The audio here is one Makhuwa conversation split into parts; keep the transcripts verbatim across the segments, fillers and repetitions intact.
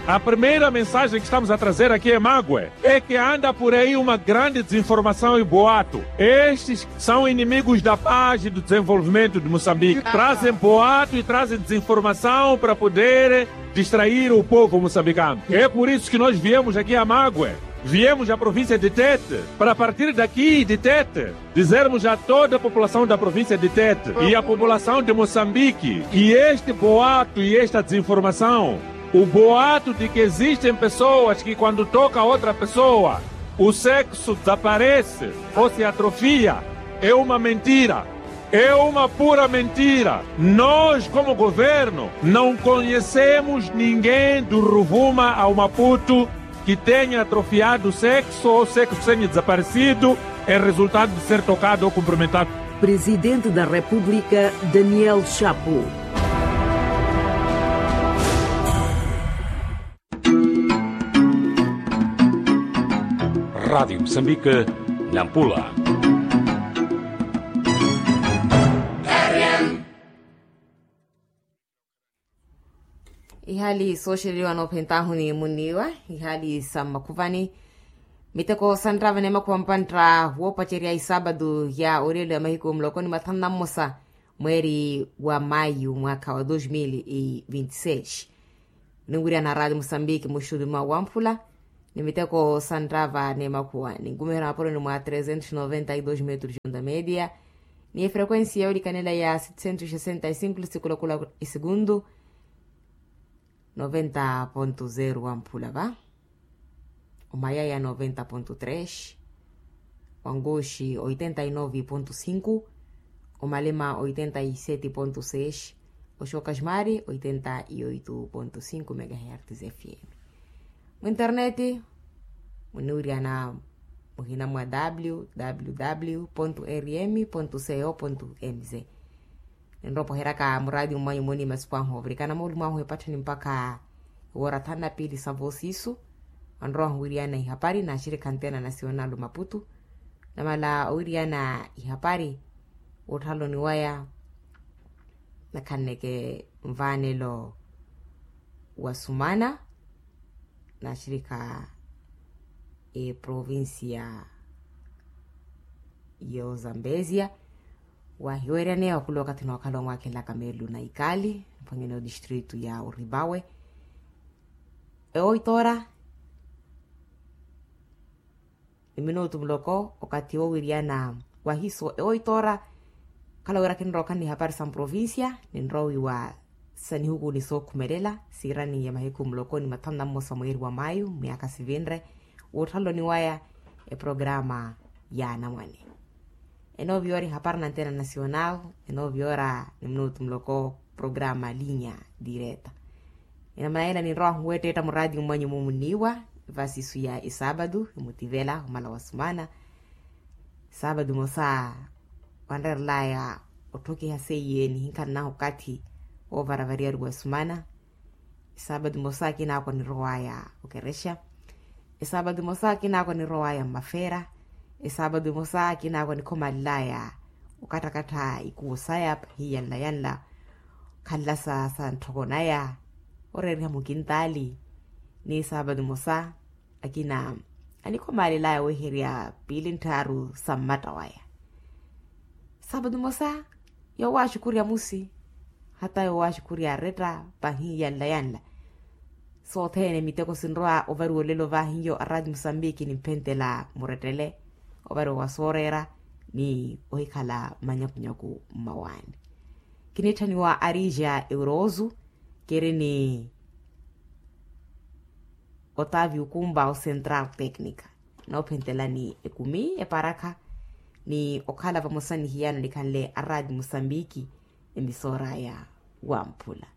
A primeira mensagem que estamos a trazer aqui em Magwe é que anda por aí uma grande desinformação e boato. Estes são inimigos da paz e do desenvolvimento de Moçambique. Trazem boato e trazem desinformação para poder distrair o povo moçambicano. É por isso que nós viemos aqui a Magwe. Viemos à província de Tete, para partir daqui de Tete, dizermos a toda a população da província de Tete e a população de Moçambique que este boato e esta desinformação, o boato de que existem pessoas que quando toca outra pessoa, o sexo desaparece ou se atrofia, é uma mentira. É uma pura mentira. Nós, como governo, não conhecemos ninguém do Ruvuma ao Maputo que tenha atrofiado sexo ou sexo tenha desaparecido em resultado de ser tocado ou cumprimentado. Presidente da República, Daniel Chapo. Rádio Moçambique, Nampula. Ihali sooxeleliwa noophentahuni munniiwa, ihali sa mmakhuvani. Miteko santtava ni makhuva mpantta woopacerya isaabatu ya olelo ya mahiku muloko ni mathanu na mmosa, mweeri wa mayu mwaakha wa dos mil e vinte seis. Ninwirya na radio musambiki muxutu mwa wamphula, ni miteko santtava ni makhuwa ninkumiherya mapoloni mwa trezentos noventa e dos metros de onda media, ni efrequensia yoolikanela ya setecentos sesenta e cinco lisikulakula, esegundu noventa ponto zero wamphula va. Omayaya noventa ponto tres, wanguxi oitenta e nove ponto cinco, omalema oitenta e sete ponto seis, oxoka ximari oitenta e oito ponto cinco megahertz fm. Muinternet muniwiriyana muhina mwa www rm co mz. Ninrowa opoheraka muraati mmanyu muni masipu ahu ovirikana moolumo ahu epattheni mpakha ewoora thanu na piili sa voosiisu. Anrowa ahu wiriyana ihapari naaxirikha antena nasional omaputu. Namala owiriyana ihapari woothaloni waya nakhanneke nvaanelo wa sumana naaxirikha eprovincia yo zambezia. Wahiweeryaneya okula okathi nookhala omwakhelaka meelu na ikali mphwanyani odistritu ya oribawe. Ewoitoora ni minutu muloko okathi wowiriyana wahiso ewoitoora. Khala wira khinrowa okhala ni hapari sa mprovincia ninrowa wiiwa sa nihuku ni sookhumelela siirani ya mahiku muloko ni mathanu na mmosa mweeri wa mayu myaakha sivinre. Woothaloni waya eprograma ya anamwane. Enooviyoora ihapari na antena nasional. Enooviyoora ni minutu muloko programa linya direta. Enamana yela ninrowa ahu weettetta muraati mmanyu mumunniiwa vasisu ya esaabatu emutivela omala wa sumana. Esaabatu emosa wanrerelaya otthokiha seiye nihinkhananahu okathi woovaravariyari wa sumana. Esaabatu emosa akinaako anirowaya okerexa. Esaabatu emosa akinaako anirowaya mmafeera. Esaabatu emosa akinaako anikhomaalelaya okattakattha ikuwo saya pahiyanla yanla. Khanlasa sa ntthoko naya oreeriha mukintaali. Ni esaabatu emosa akina anikhomaalelaya weherya piili ntthaaru sa mmatta waya. Saapatu emosa yoowaxukurya musi hata yoowaxukurya aretta pahiyanla yanla. Sothene miteko sinrowa ovariwa olelo vahiyo arati musambiki nimphentela murettele ovariwa wa sooreera ni ohikhala manyakunyaku mmawaani. Kinitthaniwa arija euroosu kiri ni otavio kumba o central tecnica. Noophentelani ekumi eparakha ni okhala vamosa ni hiyano nikhanle arati musambiki. Emisora ya wamphula.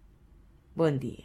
Bon dia.